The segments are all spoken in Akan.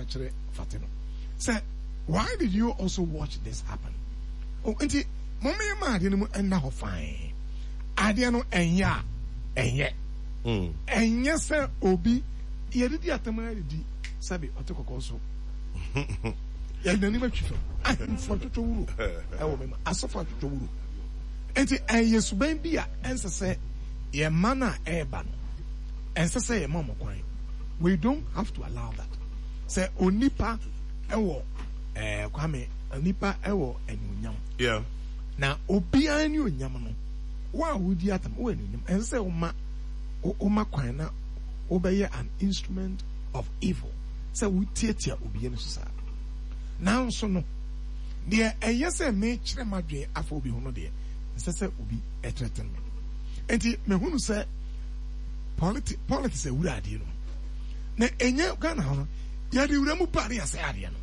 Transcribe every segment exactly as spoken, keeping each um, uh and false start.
kyerɛ Fate no sɛ, "Why did you also watch this happen?" Oh, nti mɔmɔ yɛ ma adeɛ no mu ɛnna hɔ fine. Adeɛ no ɛnyɛ a ɛnyɛ Mm. Ɛnyɛ sɛ obi yɛdidi atam a yɛdidi sɛbi ɔte kɔkɔɔ so, yɛde n'anim atwi fam. Ahemfo atwitwa wuro ɛwɔ mɛma asɔfo atwitwa wuro, nti ɛyɛ suban bi a ɛnsɛ sɛ yɛn mma no a ɛreba no, ɛnsɛ sɛ yɛn ma ɔmo kwan. We don't have to allow that sɛ onipa ɛwɔ ɛɛ Kwame, onipa ɛwɔ anuonyam Yeah. na obiara ne onyam no wo a wodi atam wɔ anuonyam, ɛnsɛ sɛ woma woma kwan na wobɛyɛ an instrument of evil sɛ wotiatia obi ani so saa. Nanso no deɛ ɛyɛ sɛ mekyerɛ m'adwene afa obi ho no deɛ, nsɛ sɛ obi ɛthreaten me. Nti mehunu sɛ politi politics awura adeɛ no mu na ɛnyɛ Ghana hɔ no, yɛde wura mu ba ne yɛasɛe adeɛ no.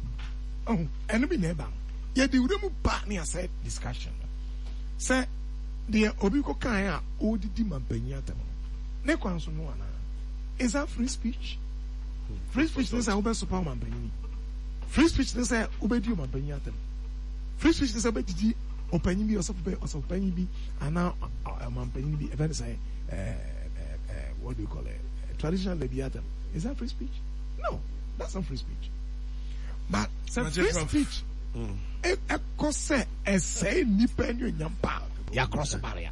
Ɔho ɛno bi na ɛba no, yɛde wura mu ba ne yɛasɛe discussion no sɛ deɛ obi kɔ kan a ɔredidi ma mpanyin atam no ne kwan so no anaa? Is that free speech? Free speech ne sɛ wobɛsopa ɔmampanyini? Free speech ne sɛ wobɛdi ɔmampanyin atam? Free speech ne sɛ wobɛdidi ɔpanyin bi, ɔsɔfo bɛ, ɔsɔfo bi anaa ɔmampanyin bi, ɛfɛ ne sɛ ɛɛ ɛɛ what do you call it, traditional leader bi atam? Is that free speech? No, that's not free speech. But sɛ free speech ɛkɔ sɛ ɛsɛe nipa ne onyam pa, yɛakorɔ so barrier.